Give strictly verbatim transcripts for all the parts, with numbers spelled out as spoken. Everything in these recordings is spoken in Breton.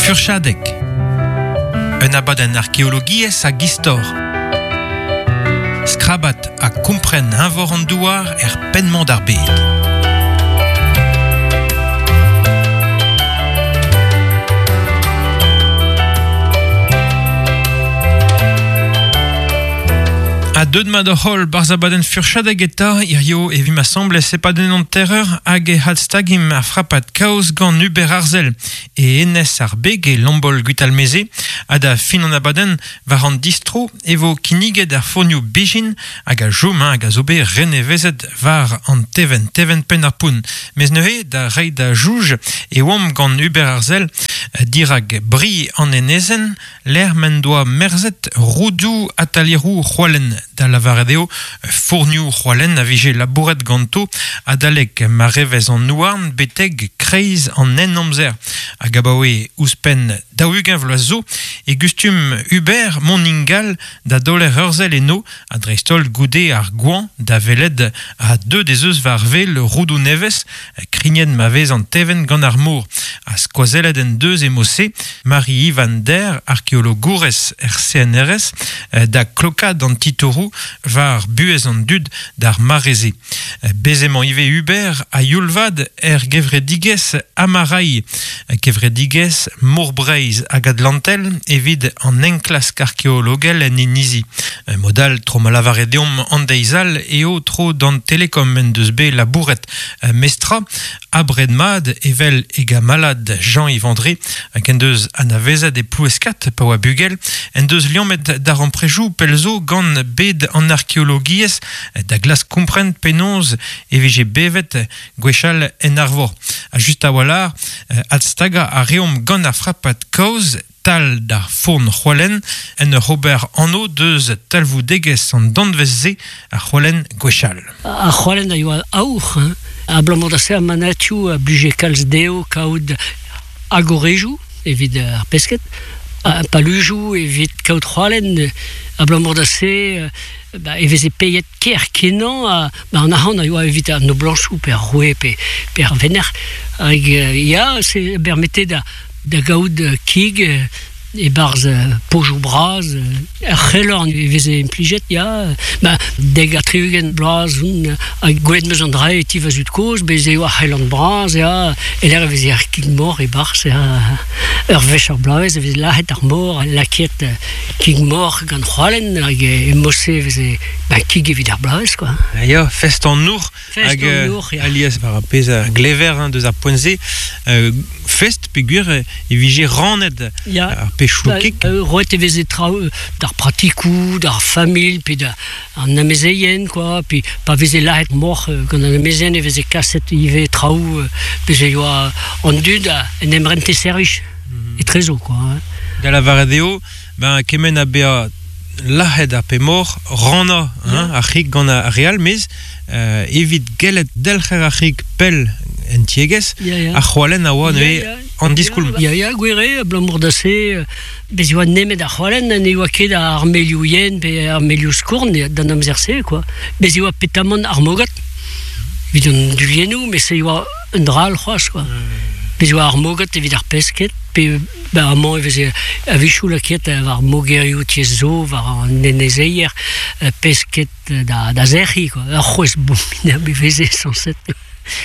Furchadeg. Un abadenn arkeologiezh hag istor. Skrabat ha kompren eñvor an douar er penn-mañ d'ar bed. A deud ma d'hor holl barz abadenn furchadeg eta hirio evit ma semble sepadenn an terreur hag e hadstagim ar frapat kaoz gant Hubert Arzel e enez ar beg e Lambol Gwitalmeze ha da fin an abadenn war an distro e vo kinniget ar fournioù bijin hag a jom hag a zo bet renevezet war an teven, teven penn ar poun. Mez neuze da rei da jouj e oamp gant Hubert Arzel dirag bri an enezen l'er men doa merzet roudou atalierou c'hoalen da lavaret eo fournioù c'hoalen a vije labouret ganto adalek ma revez an nouarn beteg kreiz an en amzer. Hag abaoe ouzhpenn daou-ugent vloaz zo e gustum Hubert Moningal da doler urzel eno a dreistol goude ar gouan da veled a deux des eus war vel roudou nevez krignet ma vez an teven gant ar mor. A skoazelet en deus e mose Marie Ivan Der, arkeologourez R C N R S, da klokad an titourou war buez an dud d'ar mareze. Bezemañ ive Hubert a youlvad er gevredigez Amarai, gevredigez Morbreiz hag Atlantel evit an enklask arkeologel en inizi. Modal tro ma lavare deomp an deizal eo tro d'an telekom en deus bet labouret mestra abred mad evel e gamalad Jean-Yves André hag en deus anavezet e ploueskat pa oa bugel en deus liammet d'ar amprejou pelzo gant bed an arkeologiezh da glas kompren penaos e vije bevet gwechall en arvor. A just a-walc'h adstaga a reomp gant ar frapat kaoz tal d'ar fourn c'hoalen en ur ober anno deus talvoudegezh an danvez-se ar c'hoalen gwechall. Ar c'hoalen a yoa aour, hein. Abalamour da se ar manatioù a blije kalz dezho kaout agorejoù evit ar pesked, a palujoù evit kaout c'hoalen, abalamour da se ba, e veze peiet ker kenañ a, ba, an arc'hant a yoa evit ar noblañsoù pe ar roue pe, pe ar vener. Hag ya, se bermete da, da gaout kig e barz pojou braz, ar c'helorn e veze implijet, ya, ba, deg a tri-ugent bloaz, un, hag gwelet meus an dra e ti va zud kozh, bez eo ar c'helorn braz, ya, e l'air e veze ar kig mor e barz, ya, ur wech ar bloavezh e veze lahet ar mor, laket kig mor gant c'hoalen, hag e mose e veze ba, kig evit ar bloavezh, quoi. Ya, fest an our, Fest hag an our, ya. Alias war ar pezh a glever hein, deus ar poent-se, euh, fest peogwir e vije rannet Ya. ar pechou Ba, kig. euh, roet e veze traoù d'ar pratikoù, d'ar familh, pe da an amezeien, quoi, pe pa veze lahet mor gant an amezeien e veze kaset ivez traoù, veze yoa an dud a en em rente servij, mm-hmm. etrezo, quoi. Hein. Da lavaret eo, ben, kement a bezañ lahet ar pe mor, ranna, hein, ar c'hig gant ar real, mez euh, evit gellet delc'her ar c'hig pell en tiegezh, Ya, ya. ar c'hoalen a oa neuze Ya, ya. an diskoulm. Ya, ya, gwir eo, abalamour da se, bez oa nemet ar c'hoalen, ne oa ket ar melioù yen pe ar melioù skourn d'an amzer-se, quoi. Bez oa petamant ar mogat, evit an duliennoù, met se oa un dra all c'hoazh, quoi. Bez oa ar mogat evit ar pesked, pe ba, amañ e veze a-wechoù laket war mogerioù tiez zo, war an enezeier, pesked da, da zerc'hi, quoi. Ur c'hwezh abominabl e veze, sañset.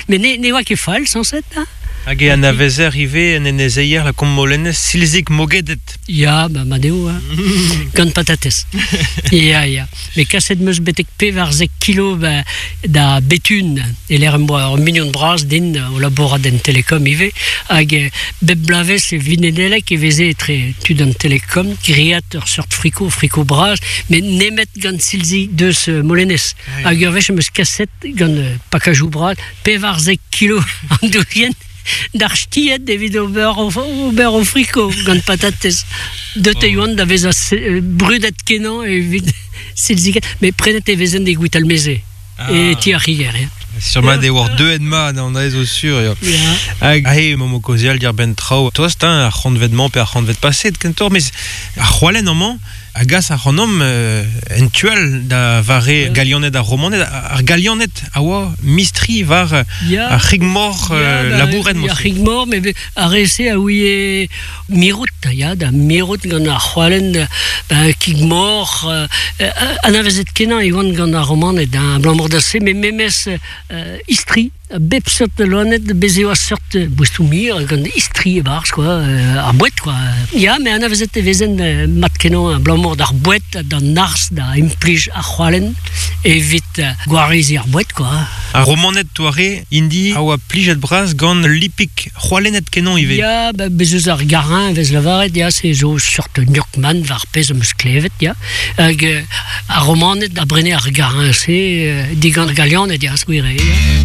Mais ne, ne oa ket fall, sañset, hein? Hag e anavezer ivez en enezeier la kommolenez silzik mogedet. Ya, ba, ma deo, hein. Gant patatez. Ya, ya. Mais kaset meus betek pevarzek kilo ba, da betun, e l'air em boa ur mignon bras din o labourat en telekom ivez, hag bep blavez e vinedelek e veze etre tud an telekom, griat ur seurt friko, friko bras, met nemet gant silzik deus molenez. Hag ur wech em eus kaset gant pakajou bras, pevarzek kilo an doulien, d'ar chtiet evit ober o, ober o friko gant patatez. Deut e oan da vezañ se, brudet kenañ evit silziket, met prenet e vezen de gwitalmeze. Ah. E ti ar c'higer, ya. Sur ma de war deux en ma, an aez o sur, ya. Ya. Hag ahe, momo kozial dir ben traoù tost, hein, ar c'hantvet-mañ pe ar c'hantvet paset, kentor, mes ar c'hoalen amañ, A gas ar c'hanom euh, en tual da vare galianet ar romanet, ar galianet a oa mistri var Ya. ar c'higmor euh, Ya, ba, labouret Ar c'higmor, me ar rese a ouie mirout, ya, da mirout gant ar c'hoalen, ba, kigmor, euh, euh, anavezet kenañ e oant gant ar romanet, hein, abalamour da se, me memes euh, istri, bep seurt loanet bez eo a seurt boestou mir gant istri e barz, quoi, euh, ar bouet, quoi. Ya, me anavezet e vezen euh, mat kenañ abalamour d'ar bouet, d'an arz, da implij ar c'hoalen, evit euh, gwarizi ar bouet, quoi. Ar romanet toare, indi, a oa plijet braz gant lipik c'hoalenet kenañ ivez. Ya, ba, bez eus ar garin vez lavaret, ya, se zo seurt gnocchman war pezh am eus klevet, ya. Hag euh, ar romanet a brene ar garin se euh, digant galianet, ya, skuire, ya.